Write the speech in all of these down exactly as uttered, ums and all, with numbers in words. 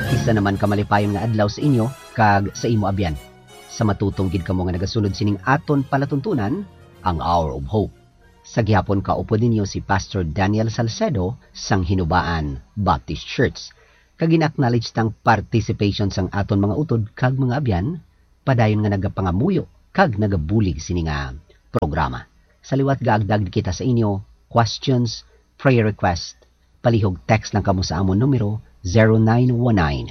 Isa naman ka malipayon nga adlaw sa inyo kag sa imo abyan. Sa matutong gid kamo nga nagasunod sining aton palatuntunan, ang Hour of Hope. Sa gihapon, kaupod ninyo si Pastor Daniel Salcedo sang Hinubaan Baptist Church. Kag gina-acknowledge tang participation sang aton mga utod kag mga abyan, padayon nga nagapangamuyo kag nagabulig sini nga programa. Sa liwat, gaagda gid kita sa inyo questions, prayer request, palihog text lang kamo sa amon numero, zero nine one nine,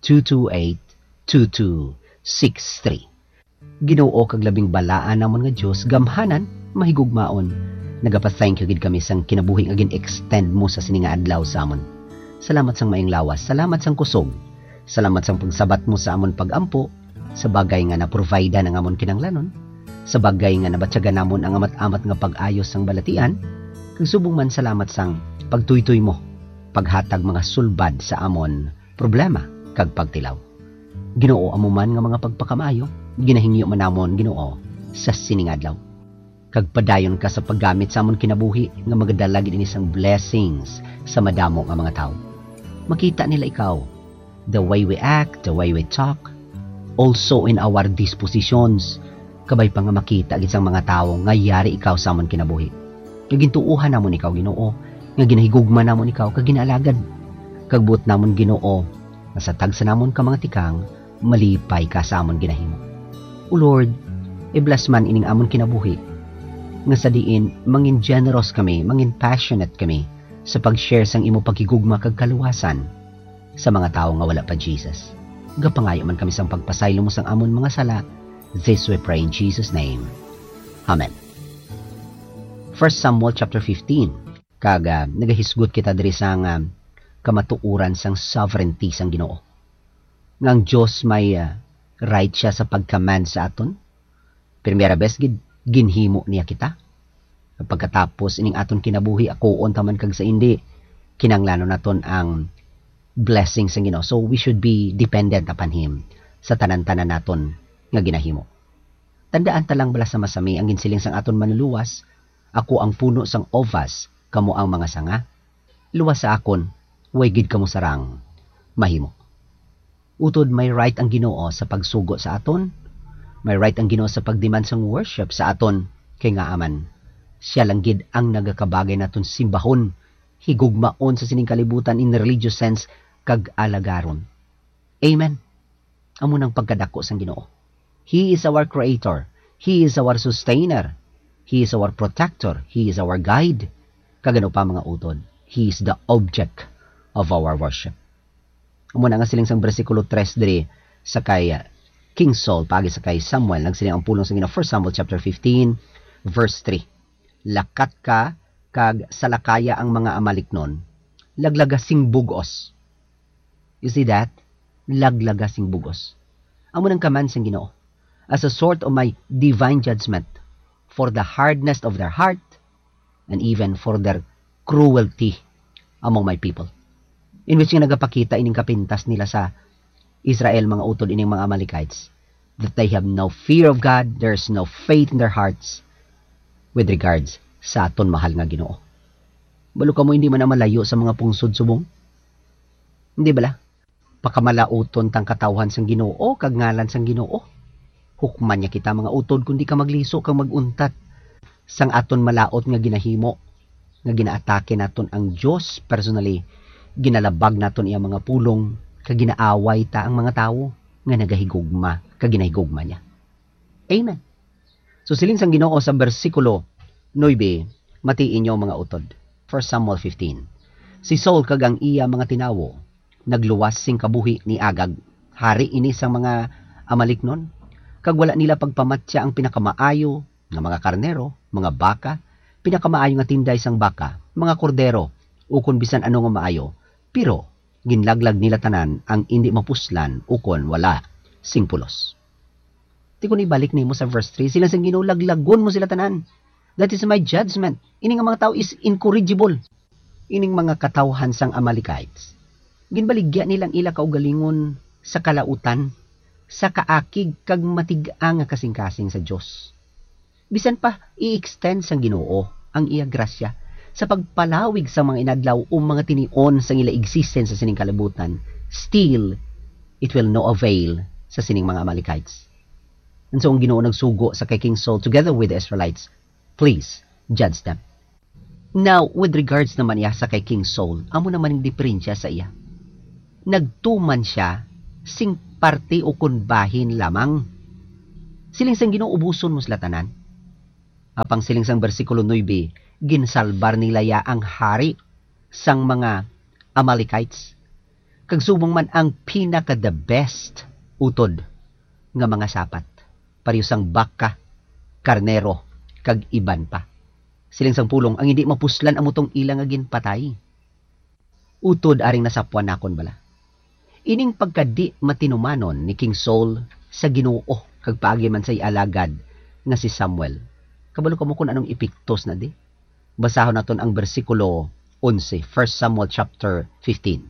two two eight, two two six three. Ginoo kag labing balaan namon nga Dios, gamhanan, mahigugmaon, nagapa-thank you gid kami sang kinabuhi nga gin-extend mo sa sini nga adlaw sa amon. Salamat sang maayong lawas, salamat sang kusog, salamat sang pagsabat mo sa amon pag-ampo, sa bagay nga na-provide ang amon kinahanglanon, sa bagay nga nabatyagan namon ang amat-amat nga pag-ayo sang balatian, kag subong man salamat sang pagtuytoy mo, paghatag mga sulbad sa amon problema kag pagtilaw. Ginoo, amo man nga mga pagpakamaayo ginahingyo man namon, Ginoo, sa sini nga adlaw. Kag padayon ka sa paggamit sa amon kinabuhi nga magadala gid ini sang blessings sa madamo nga mga tawo. Makita nila ikaw, the way we act, the way we talk, also in our dispositions, kabay pa nga makita gid sang mga tawo nga yari ikaw sa amon kinabuhi. Nga gintuohan namon ikaw, Ginoo, nga ginahigugma namon ikaw kag ginaalagad. Kag buot namon, Ginoo, nga sa tagsa namon ka mga tikang, malipay ka sa amon ginahimo. O Lord, i-bless man ining amon kinabuhi, nga sa diin mangin generous kami, mangin passionate kami sa pag-share sang imo paghigugma kag kaluwasan sa mga tawo nga wala pa Jesus. Gapangayo man kami sang pagpasaylo mo sang amon mga sala. This we pray in Jesus' name. Amen. First Samuel chapter fifteen. Kag, ah, nagahisgot kita diri sang, ah, kamatuoran sang sovereignty sang Ginoo. Nga ang Dios may, ah, right siya sa pag-command sa aton. Primera bes gid, ginhimo niya kita. Pagkatapos ining aton kinabuhi, akuon ta man kag sa indi, kinahanglanon naton ang blessing sang Ginoo. So, we should be dependent upon Him sa tanan-tanan naton nga ginahimo. Tandaan ta lang bala sa masami ang ginsiling sang aton Manlulowas, "Ako ang puno sang uvas, kamo ang mga sanga. Luwas sa akon, way gid kamo sarang mahimo." Utod, may right ang Ginoo sa pagsugo sa aton. May right ang Ginoo sa pag-demand sang worship sa aton, kay ngaa man, siya lang gid ang nagakabagay naton simbahon, higugmaon sa sining kalibutan in religious sense, kag alagaron. Amen. Amo nang pagkadako sang Ginoo. He is our creator. He is our sustainer. He is our protector. He is our guide. Kag ano pa, mga utod, He is the object of our worship. Amo na nga siling sang bersikulo tres diri sa kay, uh, King Saul, paagi sa kay Samuel, nagsiling ang pulong sa Ginoo, First Samuel chapter fifteen, verse three, "Lakat ka kag salakaya ang mga Amalicnon, laglaga sing bug-os." You see that? Laglaga sing bug-os. Amo nang command sang Ginoo. As a sort of my divine judgment for the hardness of their heart and even for their cruelty among my people. In which nga nagapakita ining kapintas nila sa Israel, mga utod, ining mga Amalekites, that they have no fear of God, there's no faith in their hearts with regards sa aton mahal nga Ginoo. Balo kamo, hindi man na malayo sa mga pungsod subong? Hindi bala? Pakamalaoton tang katawhan sang Ginoo kag ngalan sang Ginoo. Hukman niya kita, mga utod, kundi ka magliso kag mag-untat sang aton malaut nga ginahimo, nga ginaatake naton ang Dios personally, ginalabag naton iya mga pulong, kag ginaaway ta ang mga tawo nga nagahigugma kag ginahigugma niya. Amen. So, siling sang Ginoo sa bersikulo nuebe, matii ninyo, mga utod. First Samuel fifteen. Si Saul kag ang iya mga tinawo nagluwas sing kabuhi ni Agag, hari ini sang mga Amalicnon, kag wala nila pagpamatya ang pinakamaayo nga mga karnero, mga baka, pinakamaayo nga tinday sang baka, mga kordero, ukon bisan ano nga maayo, pero ginlaglag nila tanan ang indi mapuslan ukon wala sing pulos. Ti kon ibalik nimo sa verse three, sila sang Ginoo, "Laglagon mo sila tanan. That is my judgment." Ini nga mga tawo is incorrigible. Ining mga katawhan sang Amalekites, ginbaligya nila ang ila kaugalingon sa kalautan, sa kaakig kag matig-a nga kasingkasing sa Dios. Bisan pa i-extend sang Ginoo ang iya grasya sa pagpalawig sa mga inadlaw o mga tinion sang ila existence sa sining kalibutan, Still, it will no avail sa sining mga Amalekites. And so ang Ginoo nagsugo sa kay King Saul together with the Israelites, "Please, judge them." Now, with regards naman iya sa kay King Saul, amo naman ang diferensya sa iya. Nagtuman siya sing parte o kon bahin lamang. Siling sang Ginoo, "Ubuson mo sila tanan." Apang siling sang bersikulo nuebe, ginsalbar nila iya ang hari sang mga Amalekites, kag subong man ang pinaka the best utod nga mga sapat, pareho sang baka, karnero, kag iban pa. Siling sang pulong, ang hindi mapuslan amo tong ila nga ginpatay. Utod aring nasapwan nakon bala. Ining pagkadi matinumanon ni King Saul sa Ginoo kag paagi man sa iya alagad nga si Samuel. Kabalo kamo kung anong epektos na di? Basahon naton ang bersikulo onse, First Samuel chapter fifteen.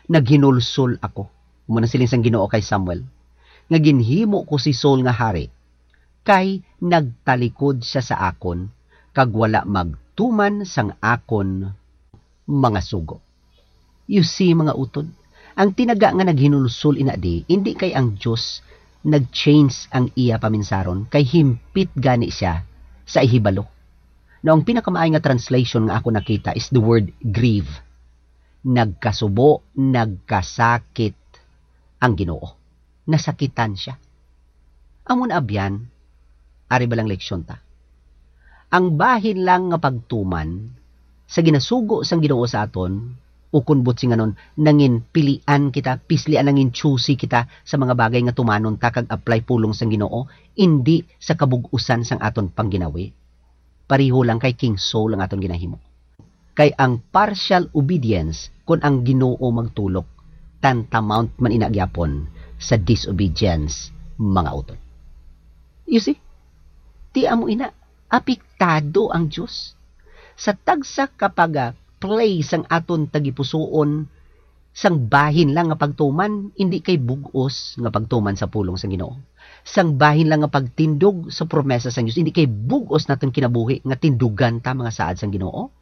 "Naghinulsol ako," amo na siling sang Ginoo kay Samuel, "nga ginhimo ko si Saul nga hari, kay nagtalikod sia sa akon, kag wala magtuman sang akon mga sugo." You see, mga utod, ang tinaga nga naghinulsol ina di, indi kay ang Dios nag-change ang iya paminsaron, kay himpit gani sia sa ihibalo. Now, ang pinakamaay nga translation nga ako nakita is the word grieve. Nagkasubo, nagkasakit ang Ginoo. Nasakitan sia. Amo na, abyan, ari bala ang leksyon ta. Ang bahin lang nga pagtuman sa ginasugo sang Ginoo sa aton, ukon butsinganon, nangin pilian kita, pislian, nangin choosy kita sa mga bagay nga tumanon ta kag apply pulong sang Ginoo, indi sa kabug-usan sang aton pangginawi. Pareho lang kay King Saul ang aton ginahimo. Kay ang partial obedience, kon ang Ginoo magtulok, tantamount man ina gyapon sa disobedience, mga utod. You see? Ti amo ina, apektado ang Dios. Sa tagsa ka pag-, ah, play sang aton tagipusoon, sang bahin lang nga pagtuman, indi kay bug-os nga pagtuman sa pulong sang Ginoo. Sang bahin lang nga pagtindog sa promesa sang Dios, indi kay bug-os naton kinabuhi nga tindugan ta mga saad sang Ginoo.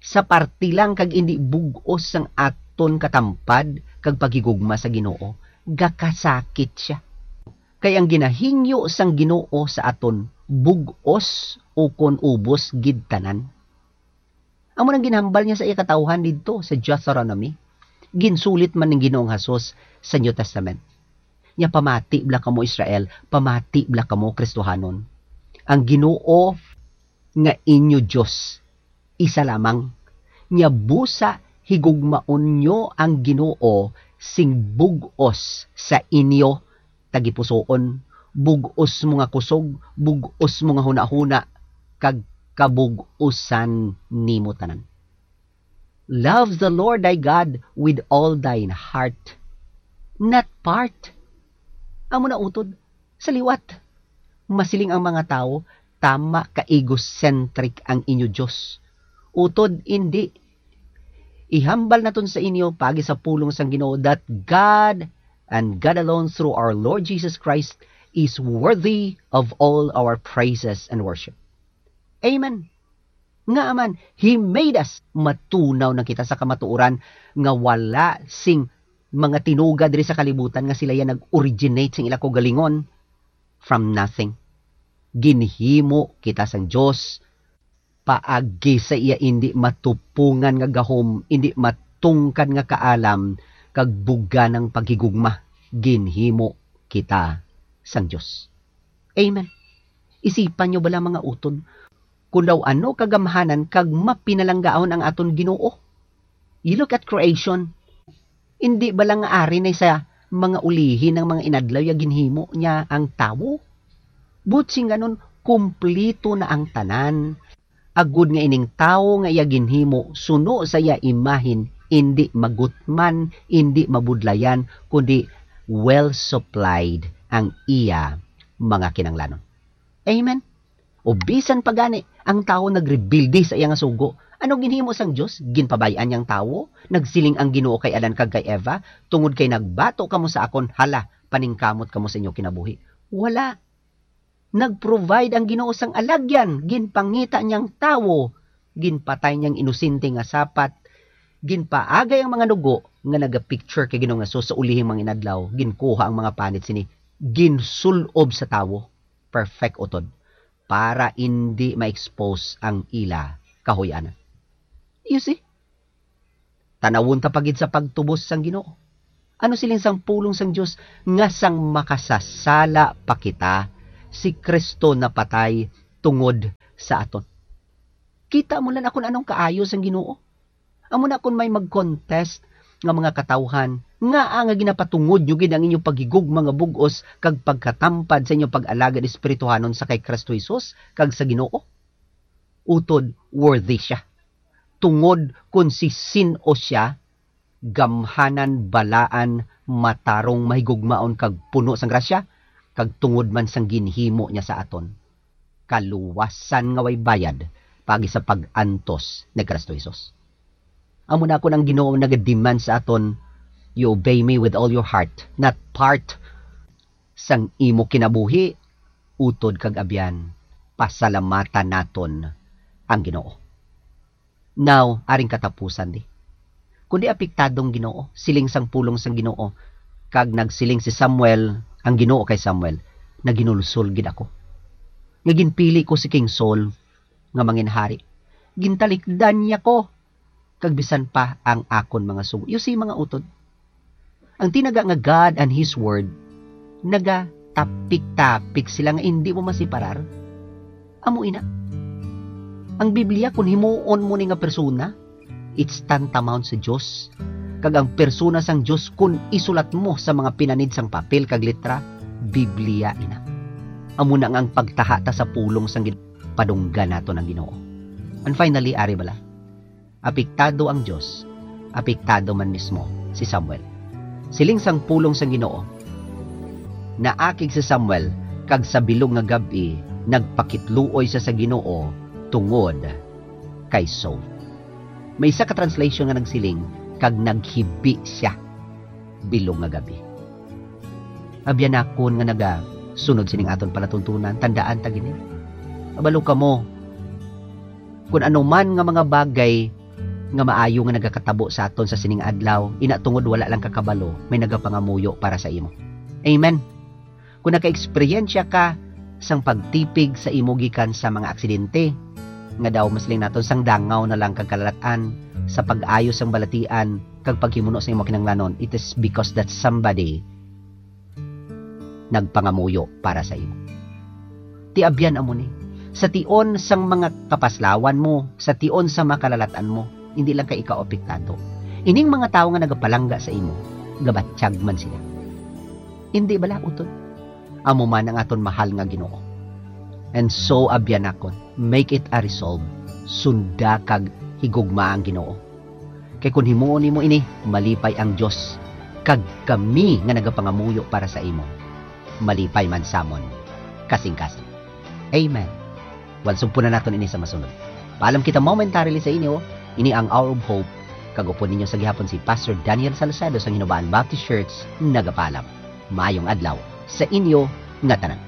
Sa parte lang kag indi bug-os sang aton katampad kag paghigugma sa Ginoo, gakasakit sia. Kay ang ginahingyo sang Ginoo sa aton bug-os ukon ubos gid tanan. Amo nang ginhambal niya sa iya katawuhan didto sa Deuteronomy. Ginsulit man ning Ginoong Hesus sa New Testament. Niya, "Pamati bala kamo, Israel, pamati bala kamo, Kristohanon. Ang Ginoo nga inyo Dios, isa lamang. Niya, busa higugmaon nyo ang Ginoo sing bug-os sa inyo tagipusoon, bug-os mo nga kusog, bug-os mo nga hunahuna, kag kabug-usan nimo tanan." Love the Lord thy God with all thine heart, not part. Amo na utod, sa liwat. Masiling ang mga tawo, "Tama ka egocentric ang inyo Dios." Utod, indi. Ihambal naton sa inyo, paagi sa pulong sang Ginoo, that God and God alone through our Lord Jesus Christ is worthy of all our praises and worship. Amen. Nga man, He made us. Matunaw na kita sa kamatuoran nga wala sing mga tinuga diri sa kalibutan nga sila ya nag-originate sing ila kaugalingon. From nothing. Ginhimo kita sang Dios paagi sa iya indi matupungan nga gahom, indi matungkad nga kaalam, kag buganang paghigugma. Ginhimo kita sang Dios. Amen. Isipan nyo bala, mga utod, kung daw ano kagamhanan kag mapinalanggaon ang aton Ginoo. You look at creation. Indi bala nga ari na sa mga ulihi ang mga inadlaw ya ginhimo niya ang tawo? Butsinganon, kumplito na ang tanan. Agod nga ining tawo nga iya ginhimo suno sa iya imahen, indi magutman, indi mabudlayan, kundi well supplied ang iya mga kinahanglanon. Amen. O bisan pa gani, ang tawo nagrebelde sa iya nga sugo. Ano ginhimo sang Dios? Ginpabay-an niya ang tawo? Nagsiling ang Ginoo kay Adan kag kay Eva, "Tungod kay nagbato kamo sa akon, hala, paningkamot kamo sa inyo kinabuhi." Wala. Nag-provide ang Ginoo sang alagyan, ginpangita niya ang tawo, ginpatay niya ang inosente nga sapat, Ginpaagay ang mga nugo nga nagapicture kay Ginoong Jesus sa ulihing mga inadlaw, ginkuha ang mga panit sini, ginsul-ob sa tawo, perfect utod, para indi ma-expose ang ila kahuy-anan. You see? Tanawon ta pa gid sa pagtubos sang Ginoo. Ano siling sang pulong sang Dios nga sang makasasala pa kita, si Cristo napatay tungod sa aton? Kita mo lang akon anong kaayo sang Ginoo. Amo na kon may mag-contest nga mga katawhan, ngaa nga ginapatungod nyo gid ang inyong paghigugma nga bug-os kag pagkatampad sa inyong pag-alagad espirituhanon sa kay Cristo Jesus kag sa Ginoo? Utod, worthy sia. Tungod kon si sin-o sia, gamhanan, balaan, matarong, mahigugmaon, kag puno sang grasya, kag tungod man sang ginhimo niya sa aton, kaluwasan nga way bayad paagi sa pag-antos ni Cristo Jesus. Amo na kon ang Ginoo nagademand sa aton, "You obey me with all your heart," not part sang imo kinabuhi, utod kag abyan, pasalamatan naton ang Ginoo. Now, aring katapusan di. Kundi apektado ang Ginoo, siling sang pulong sang Ginoo, kag nagsiling si Samuel, ang Ginoo kay Samuel, "Naginulsol gid ako, nga ginpili ko si King Saul nga manginhari. Gintalikdan niya ko, kag bisan pa ang akon mga sugo." You see, mga utod, ang tinaga nga God and His Word, nagatapik-tapik sila nga indi mo masiparar. Amo ina. Ang Biblia, kun himuon mo ni nga persona, it's tantamount sa Dios. Kag ang persona sang Dios, kun isulat mo sa mga pinanid sang papel kag letra, Biblia ina. Amo na nga ang pagtaha ta sa pulong sang Gin-, padunggan naton ang Ginoo. And finally, ari bala, apektado ang Dios, apektado man mismo si Samuel. Siling sang pulong sang Ginoo, naakig si Samuel, kag sa bilog nga gab-i nagpakitluoy sia sa Ginoo tungod kay Saul. May isa ka translation nga nagsiling, "Kag naghibi sia bilog nga gab-i." Abyan nakon nga nagasunod sining aton palatuntunan, tandaan ta gini. Kabalo kamo, kun ano man nga mga bagay nga maayo nga nagakatabo sa aton sa sining adlaw, ina tungod wala lang ka kabalo, may nagapangamuyo para sa imo. Amen. Kung naka-eksperyensya ka sang pagtipig sa imo gikan sa mga aksidente, nga daw masiling naton sang dangaw na lang kag kalalat-an, sa pag-ayo sang balatian, kag paghimuno sa imo kinahanglanon, it is because that somebody nagpangamuyo para sa imo. Ti abyan amo ni, sa tion sang mga kapaslawan mo, sa tion sa mga kalalat-an mo, hindi lang kay ikaw apektado. Ining mga tawo nga nagapalangga sa imo, gabatyag man sila. Hindi bala, utod? Amo man ang aton mahal nga Ginoo. And so, abyan nakon, make it a resolve. Sunda kag higugma ang Ginoo. Kay kun himuon nimo ini, malipay ang Dios, kag kami nga nagapangamuyo para sa imo, malipay man samon kasingkasing. Amen. Well, sugpo na naton ini sa masunod. Paalam kita momentarily sa inyo. Ini ang Hour of Hope, kag upod ninyo sa gihapon si Pastor Daniel Salcedo sa Hinubaan Baptist Church, nagapaalam. Maayong adlaw sa inyo nga tanan.